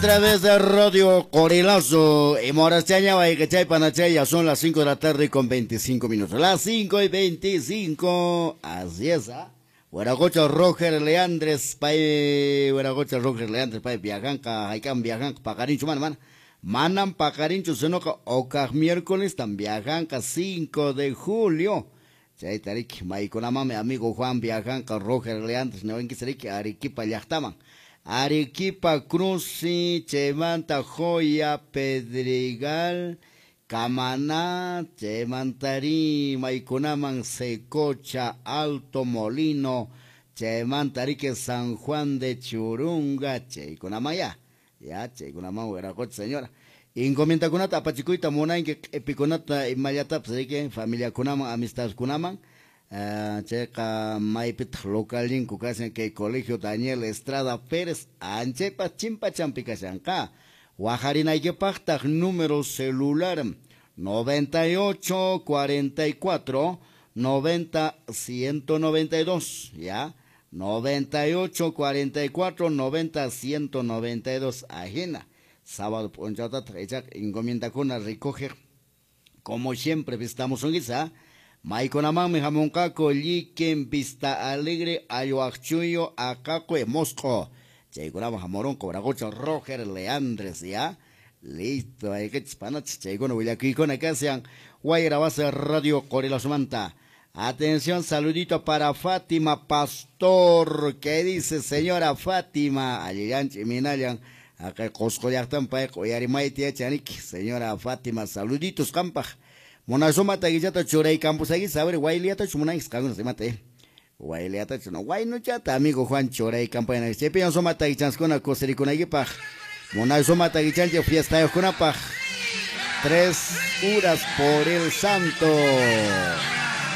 Través de Radio Corilazo y Morachaña, Panachaya, son las 5 de la tarde con 25 minutos. Las 5:25, así es, ¿ah? Hueracocha Roger Leandres, pay, Hueracocha Roger Leandres, pay, viajanca, haikan viajanca, paqarinchu, man, man. Manam paqarinchu, sinoqa, okaq miércoles, tan viajanca, 5 de julio. Chayta riki, maykunamanmi amigo Juan viajanca, Roger Leandres, newankichis Arequipa llaqtaman. Arequipa Cruz, chaymanta Joya, Pedregal, Camaná, chaymantari, maykunaman Secocha, Alto Molino, chaymanta riki San Juan de Churunga, chaykunaman ya, ya, chaykunaman wiraqucha señora. Encomiendakunata apachikuyta munanki q'ipikunata imallatapas riki familiakunaman amistadkunaman. Chayqa maypitaq localninku kashan kay colegio Daniel Estrada Pérez anchaypas chimpachampi kashanqa. Wajarinaykipaqtaq número celular 98 44 90 192, ya, 98 44 90 192, ajina. Sábado p'unchawtataq ichaqa encomiendakuna recoger como siempre visitamos un guisa. Maykunamanmi hamunqaku Lliquen, Vista Alegre, Ayuaqchuyo, Aqaqui, Mosco. Chaykunaman hamurunqa Wiraqucha Roger Leandres, ya. Listo, aykichis panachis, chaykuna willakuykuna kashan Wayra Base Radio Qorilazumanta. Atención, saludito para Fátima Pastor. ¿Qué dice señora Fátima? Allillanchi minallan. Acá Cusco llaqtan payqa uyarimayta yachaniki. Señora Fátima, saluditos qampaq. Munasumata guillata churay campusagui, saber guayliata chumunanquis qankuna imata Guayliata no guaynuchata amigo Juan churay campaña. Chaypiñan sumata guichanskuna kusirikunaykipaq. Munasumata guichanchik fiestayuqkunapaq. 3 horas por el santo.